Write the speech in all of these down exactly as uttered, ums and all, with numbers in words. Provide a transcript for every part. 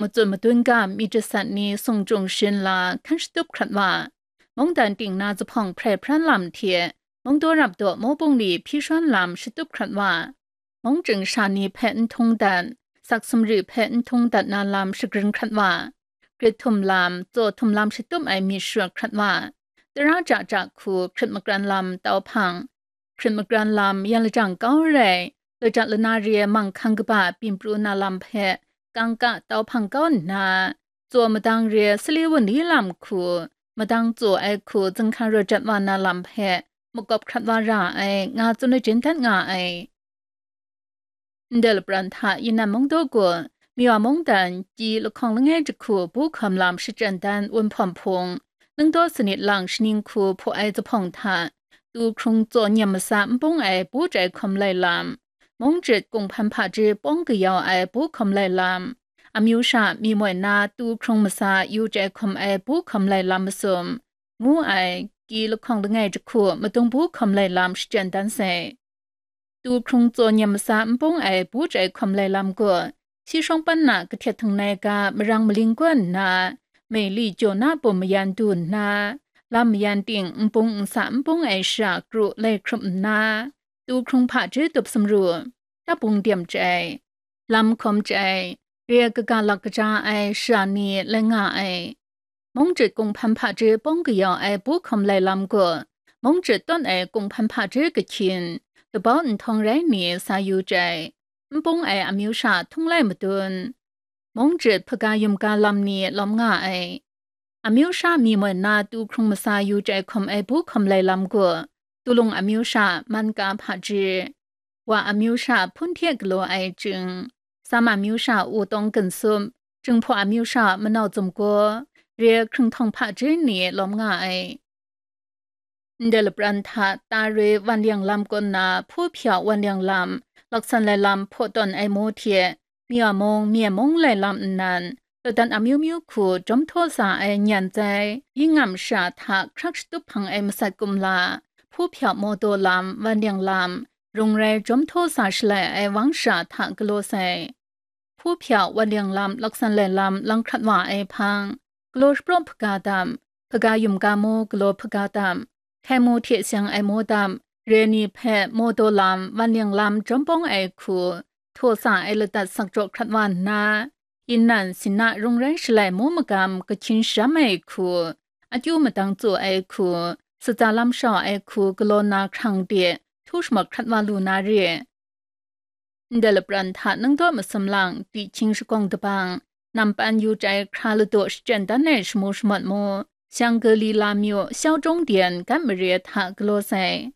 matsun madun ga myit jasat ni sung chyung sharin la hkan shatup hkrat wa, mungdan ting na zuphpawng hprai hpran lam hte mungdaw rap daw mawbung li hpyi shawn lam shatup hkrat wa, mung chying sha ni hpe n htung dat, sak sumri hpe n htung dat na lam shagrin hkrat wa, grit htum lam, tsaw htum lam shatup ai myit shara hkrat wa, tara ja ja hku hkrit makran lam tau hpang, hkrit makran lam yan lajang kau rai, lajat lana re ai manghkang kaba byin pru na lam hpe kangka tau hpang kau nna, tsaw madang re ai sali wunli lam hku, madang tsaw ai hku zinghkan rawt jat wa na lam hpe makawp hkrat wa ra ai, nga tsun lajin dat nga ai. Ndai lapran hta Yinan mungdaw gaw, Miwa mungdan, kyi lahkawng langai jahku bu hkawm lam shachyen dan wunhpawm hpung, ningdaw sanit lang shaning hku hpaw ai zuphpawng hta, tu hkrung tsaw nyam masa npung ai bu chyai hkawm lai lam, mung jit kunghpan hpaji pawng kayau ai bu hkawm lai lam, amyu sha mi moi na tu hkrung masa yu chyai hkawm ai bu hkawm lai lam masum, ngu ai, kyi lahkawng langai jahku madung bu hkawm lai lam shachyen dan sai. Tu hkrung tsaw nyam masa npung ai bu chyai hkawm lai lam gaw, si shawng pan na kahtet htangnai ga marang maling gaw nna, mei li jaw na bum mayan du nna, lam mayan ting npung nsa npung ai shara kru lai hkrup nna, tu hkrung hpaji tup sumru, tabung dem chyai, lam hkawm chyai, re ai kaga lak kaja ai shara ni lai nga ai. Mung jit kunghpan hpaji pawng kayau ai bu hkawm lai lam gaw, mung jit tawn ai kunghpan hpaji kahkyin, labau nhtawng rai ni sa yu chyai, npung ai amyu sha htung lai madun, mung jit hpaga yumga lam ni lawm nga ai. Amyu sha mi moi na tu hkrung masa yu chyai hkawm ai bu hkawm lai lam gaw, tulung amyu sha man ka hpaji, wa amyu sha hpun hte galaw ai chying, sam amyu sha wutawng ginsup, jinghpaw amyu sha manau zumgaw, re ai hkringhtawng hpaji ni lawm nga ai. Ndai lapran hta ta roi wan liang lam kaw nna hpu hpya wan liang lam, laksan lai lam hpaw tawn ai mu hte, Miwa mung, Mye mung lai lam nnan, ladan amyu myu hku jawm htaw sa ai nyan zai, yingam sha hta hkrak shatup hpang ai masat kumla, hpu hpya maw daw lam, wan liang lam, rung rai jawm htaw sa shalai ai wang sha hta galaw sai. Hpu hpya wan liang lam, laksan lai lam lang hkrat wa ai hpang, galaw shapraw hpaga dam, hpaga yumga mu galaw hpaga dam, hkai mu hte seng ai mu dam, re ni hpe maw daw lam, wan liang lam jawm bawng ai hku, htaw sa ai ladat sak jaw hkrat wa nna, yin nan, sin na rung rai shalai mu magam kahkyin sharam ai hku, akyu madang tsaw ai hku, sutsa lam shau ai hku galaw na hkrang de, htu shamat hkrat wa lu na re. Ndai lapran hta ningdaw masum lang, tihkying shakawng dabang, nampan yu chyai hkra ladaw shachyen dan ai shamu shamat mu, shang gali la myu, shau jung dyen, gat mare hta galaw sai.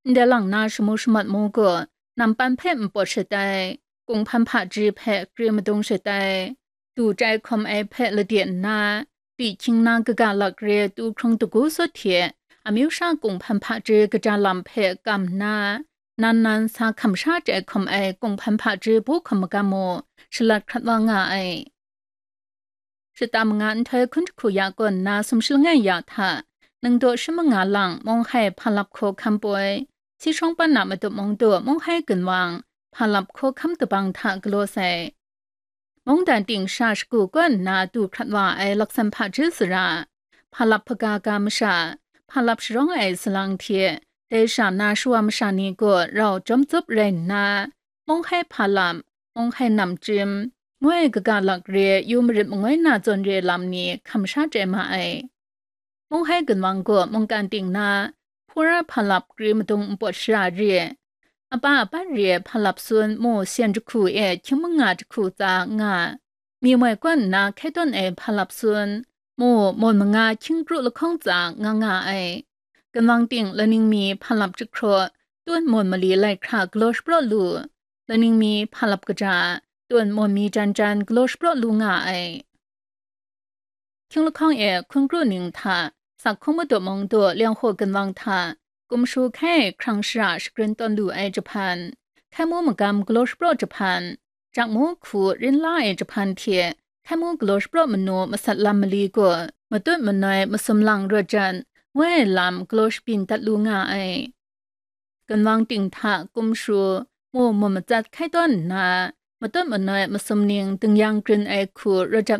Ndai lang na shamu shamat mu gaw, nampan hpe npawt shatai, kunghpan hpaji hpe kre madung shatai, du chyai hkawm ai hpe lade nna, tihkying na kaga lak re tu hkrung dagu sut hte, amyu sha kunghpan hpaji kaja lam hpe kam nna, nan nan sa hkam sha chyai hkawm ai kunghpan hpaji bu hkawm magam mu, shalat hkrat wa nga ai. Shata manga nhtoi hkun jahku ya kaw nna sumshi langai ya hta, ningdaw shi manga lang Munghai Hpa Lap Hkaw Hkam poi, si shawng pan na Matup Mungdaw Munghai Gunwang Hpa Lap Hkaw Hkam dabang hta galaw sai. Mungdan ting sha shagu kaw nna du hkrat wa ai laksan hpaji sara, Hpa Lap hpaga ga masha, Hpa Lap sharawng ai salang hte, dai sha na shawa masha ni gaw rau jawm tsup rai nna, Munghai Hpa Lap, Munghai Namchyim, ngu ai kaga lak re yu marit mangoi na zawn re lam ni hkam sha chyai ma ai. Munghai Gunwang gaw mungkan ting na, Hpura Hpa Lap kri madung npawt shara re, apa apat re Hpa Lap Sun mu syan jahku e hkying manga jahku tsa nga, mi moi kaw nna hkai tawn ai Hpa Lap Sun mu mawn manga hkying kru lahkawng tsa nga nga ai. Gunwang ting laning mi Hpa Lap jahkraw, tun mawn mali lai hkra galaw shapraw lu, laning mi Hpa Lap kaja, tun mawn mi jan jan galaw shapraw lu nga ai. Hkying lahkawng e hkun kru ning hta, Sak Hkung Madu Mung Daw Liang Hkaw Gunwang hta, Kum Shu hkai hkrang shara shagrin tawn lu ai jahpan, hkai mu magam galaw shapraw jahpan, jak mu hku rin la ai jahpan hte, hkai mu galaw shapraw manu masat lam mali gaw, matut manoi masum lang rawt jan, ngu ai lam galaw shabyin dat lu nga ai. Gunwang ting hta Kum Shu, mu mu matsat hkai tawn nna, matut manoi masum ning dingyang grin ai hku rawt jat